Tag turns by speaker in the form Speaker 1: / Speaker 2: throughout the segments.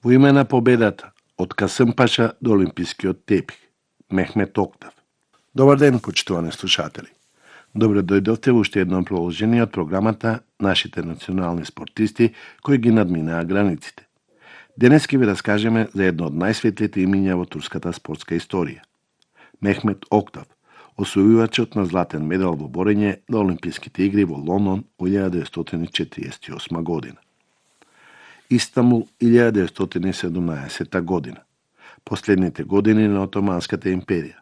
Speaker 1: Во име на победата, од Касъмпаша до Олимпискиот тепих, Мехмет Октав. Добар ден, почитувани слушатели. Добре дојдовте во уште едно продолжение од програмата Нашите национални спортисти кои ги надминаа границите. Денес ќе ви раскажеме за едно од најсветлите имиња во турската спортска историја. Мехмет Октав, освојувачот на златен медал во борење на Олимписките игри во Лондон во 1948 година. Истанбул 1917 година. Последните години на Отоманската империја.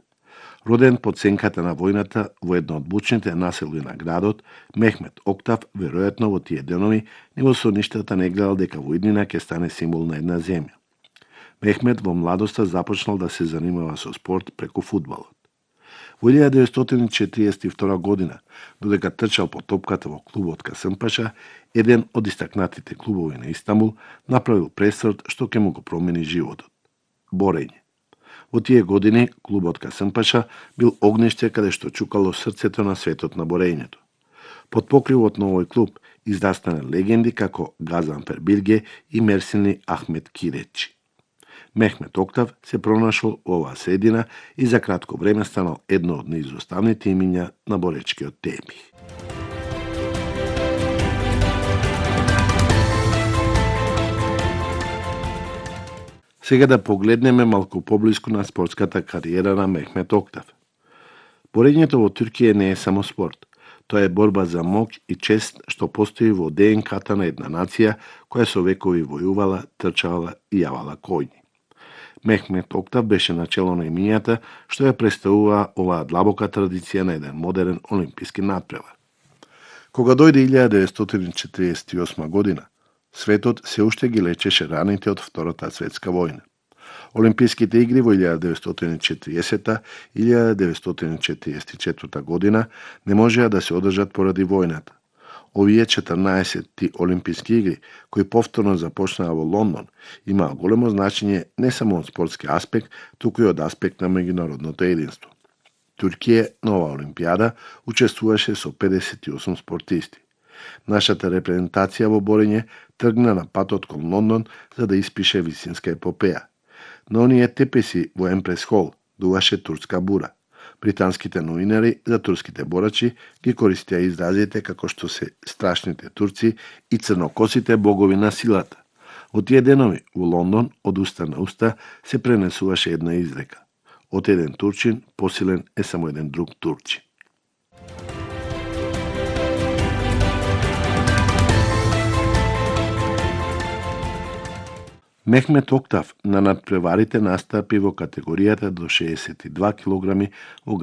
Speaker 1: Роден под сенката на војната во едно од бучните населби на градот, Мехмет Октав веројатно во тие денови ни во сонништата не гледал дека во иднина ќе стане символ на една земја. Мехмет во младоста започнал да се занимава со спорт преку фудбалот. Во 1942 година, додека трчал по топката во клубот Касъмпаша, еден од истакнатите клубови на Истанбул направил пресврт што ќе му го промени животот. Борење. Во тие години клубот Касъмпаша бил огниште каде што чукало срцето на светот на борењето. Под покривот на овој клуб издастана легенди како Газанфер Билге и Мерсини Ахмет Киречи. Мехмет Октав се пронашол во оваа средина и за кратко време станал едно од наизоставните имиња на боречкиот тепих. Сега да погледнеме малку поблиску на спортската кариера на Мехмет Октав. Борењето во Туркија не е само спорт. Тоа е борба за моќ и чест што постои во ДНК-та на една нација која со векови војувала, трчала и јавала коњи. Мехмет Октав беше начело на имињата што ја представува оваа длабока традиција на еден модерен олимписки натпревар. Кога дојде 1948 година, светот се уште ги лечеше раните од Втората светска војна. Олимписките игри во 1940 и 1944 година не можеа да се одржат поради војната. Овие 14 олимписки игри, кои повторно започнаа во Лондон, имаа големо значење не само од спортски аспект, туку и од аспект на меѓународното единство. Туркија на оваа олимпијада учествуваше со 58 спортисти. Нашата репрезентација во борење тргна на патот кон Лондон за да испише висинска епопеја. На оние тепеси во Емпрес Хол дуваше турска бура. Британските новинари за турските борачи ги користеа изразите како што се страшните турци и црнокосите богови на силата. Во тие денови во Лондон од уста на уста се пренесуваше една изрека: од еден турчин посилен е само еден друг турчин. Мехмет Октав на надпреварите настапи во категоријата до 62 килограми во